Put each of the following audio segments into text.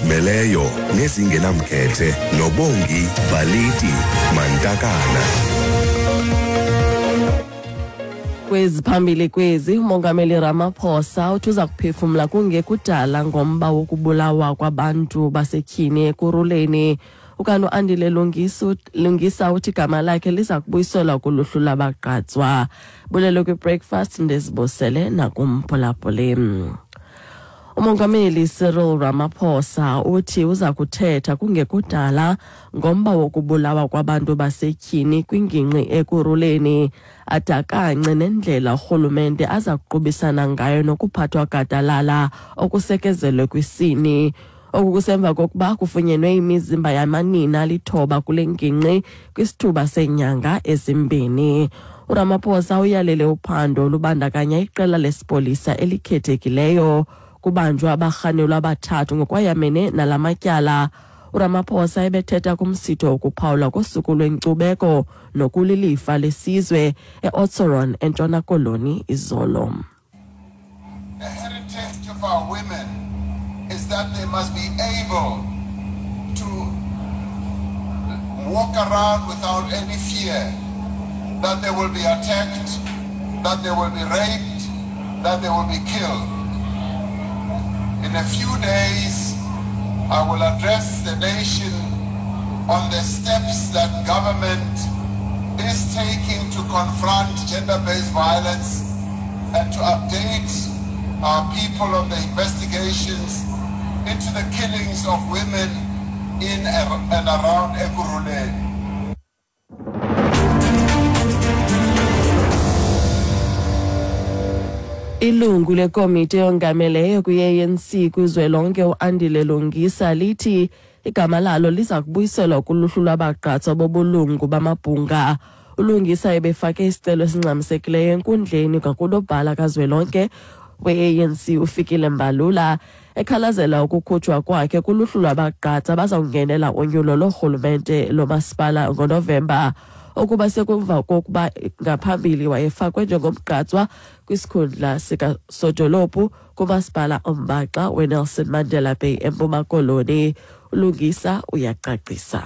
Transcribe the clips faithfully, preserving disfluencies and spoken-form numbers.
Ezizimeleyo nezingenamkhethe noBongi Baliti Mantakana. Kwezi phambili kwezi, uMongameli Ramaphosa uthi uza kuphefumla kungekudala ngomba wokubulawa kwabantu basetyhini Ekurhuleni. Ukanti uAndile Lungisa uthi igama lakhe liza kubuyiselwa kuluhlu lwabagqatswa. Bulelo kwi-breakfast, ndizibusele nakumphulaphuli. Umongameli Cyril Ramaphosa uthi uza kuthetha kungekudala ngomba wokubulawa kwabantu basetyhini kwingingqi Ekurhuleni, adakance nendlela urhulumente aza kuqubisana ngayo nokuphathwa gadalala okusekezelwe kwisini. Oku kusemva kokuba kufunyenwe imizimba yamanina alithoba kule ngingqi kwisithuba seenyanga ezimbini. URamaphosa uyalele uphando olubandakanya iqela lesipolisa elikhethekileyo. Kubanjwa abarhanelwa abathathu ngokwayamene nala matyala. URamaphosa ebethetha kumsitho wokuphawula kosuku lwenkcubeko nokulilifa lesizwe eOudtshoorn eNtshona Koloni izolo. The heritage of our women is that they must be able to walk around without any fear that they will be attacked, that they will be raped, that they will be killed. In a few days, I will address the nation on the steps that government is taking to confront gender-based violence and to update our people on the investigations into the killings of women in and around Ekurhuleni. Ilungu lekomiti eyongameleyo kwi-A N C kuzwelonke uAndile Lungisa lithi igama lalo liza kubuyiselwa kuluhlu lwabagqatswa bobulungu bamabhunga. ULungisa ebefake isicelo esingxamisekileyo enkundleni kwakunobhala kazwelonke we-A N C uFikile Mbalula, ekhalazela ukukhutshwa kwakhe kuluhlu lwabagqatsa abazawungenela unyulo lorhulumente lomasipala ngoNovemba, okuba sekumva kokuba ngaphambili wayefakwe njengomgqatswa kwisikhundla sikasodolophu kumasipala ombaxa weNelson Mandela Bay eMpuma Koloni. ULungisa uyacacisa.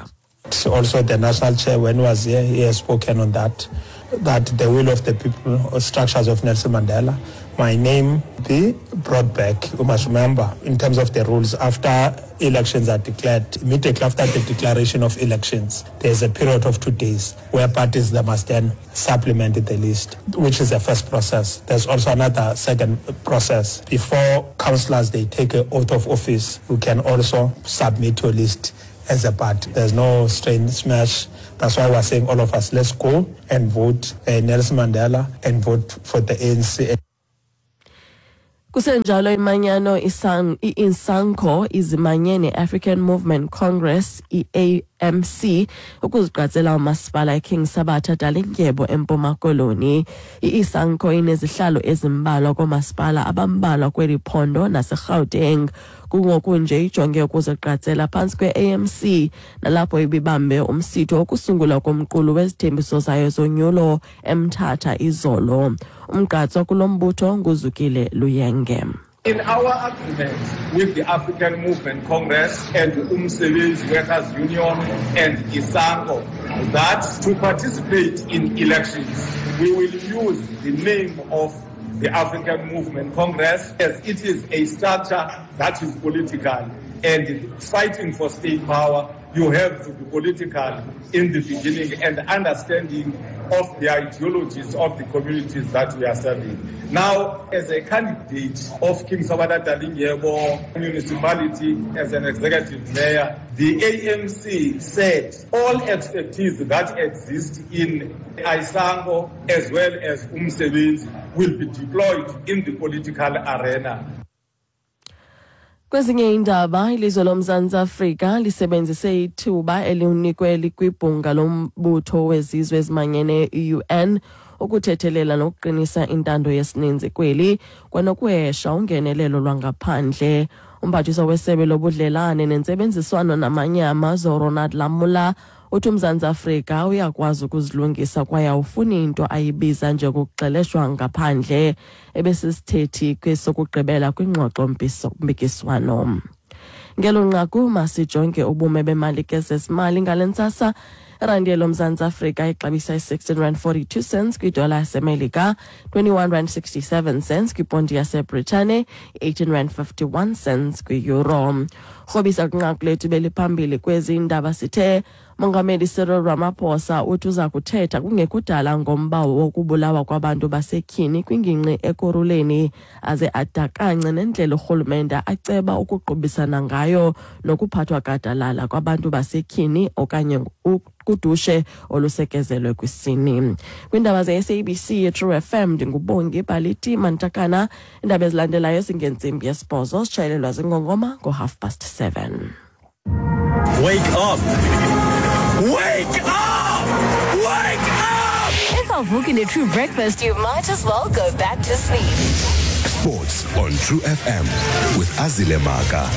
Also, the national chair, when he was here, he has spoken on that, that the will of the people or structures of Nelson Mandela, my name be brought back. You must remember, in terms of the rules, after elections are declared, immediately after the declaration of elections, there's a period of two days where parties they must then supplement the list, which is the first process. There's also another second process. Before councillors, they take an oath of office, you can also submit your list as a party. There's no strange smash. That's why we're saying all of us, let's go and vote uh, Nelson Mandela and vote for the A N C. Kusenjalo imanyano i-Insanco izimanye ne-African Movement Congress I A M C ukuzigqatsela umasipala eKing Sabatha Dalindyebo eMpuma Koloni. I-Isanco inezihlalo ezimbalwa koomasipala abambalwa kweli phondo naseGauteng. Kungoku nje ijonge ukuzigqatsela phantsi kwe-A M C nalapho ibibambe umsitho wokusungulwa komqulu wezithembiso zayo zonyulo eMthatha izolo. Umgqatswa kulo mbutho nguZukile Luyenge. In our agreement with the African Movement Congress and Umsebenzi Workers Union and Isango, that to participate in elections, we will use the name of the African Movement Congress, as it is a structure that is political, and fighting for state power, you have to be political in the beginning and understanding of the ideologies of the communities that we are serving. Now, as a candidate of King Sabata Dalindyebo municipality, as an executive mayor, the A M C said all expertise that exists in Isango as well as Umsebenzi will be deployed in the political arena. Kwezinye iindaba, ilizwe loMzantsi Afrika lisebenzise ithuba elinikwe likwibhunga lombutho wezizwe ezimanyeneyo I U N ukuthethelela nokuqinisa intando yesininzi kweli kwanokuhesha ungenelelo lwangaphandle. Umphathiswa wesebe lobudlelane nentsebenziswano namanye amazwe uRonald Lamola uthi uMzantsi Afrika uyakwazi ukuzilungisa kwaye awufuni into ayibiza njengokuxeleshwa ngaphandle, ebesisithethi kwesokugqibela kwingxoxo-mpikiswano. Ngelo nqaku masijonge ubume bemali kezezimali ngale ntsasa. Irandi yelomzantsi Afrika ixabisa i-sixteen rand forty-two cents kwidola yaseMelika, twenty-one rand sixty-seven cents kwiponti yaseBritane, eighteen rand fifty-one cents kwi-euro. Rhobisa kwinqaku lethu beliphambili kwezi ndaba sithe Mongameli Cyril Ramaphosa uthi uza kuthetha kungekudala ngomba wokubulawa kwabantu basetyhini kwingingqi Ekurhuleni, aze adakance nendlela urhulumente aceba ukuqubisana ngayo nokuphathwa gadalala kwabantu basetyhini okanye kudushe olusekezelwe kwisini. Kwiindaba ze-S A B C True F M, ndinguBongi Baliti Mantakana. Iindaba ezilandelayo zingentsimbi yesibhozo, sitshayelelwa zingongoma ngo-half past seven. Wake up! Wake up! Wake up! If awuvuki ne-True Breakfast, you might as well go back to sleep. Sports on True F M with Azile Maka.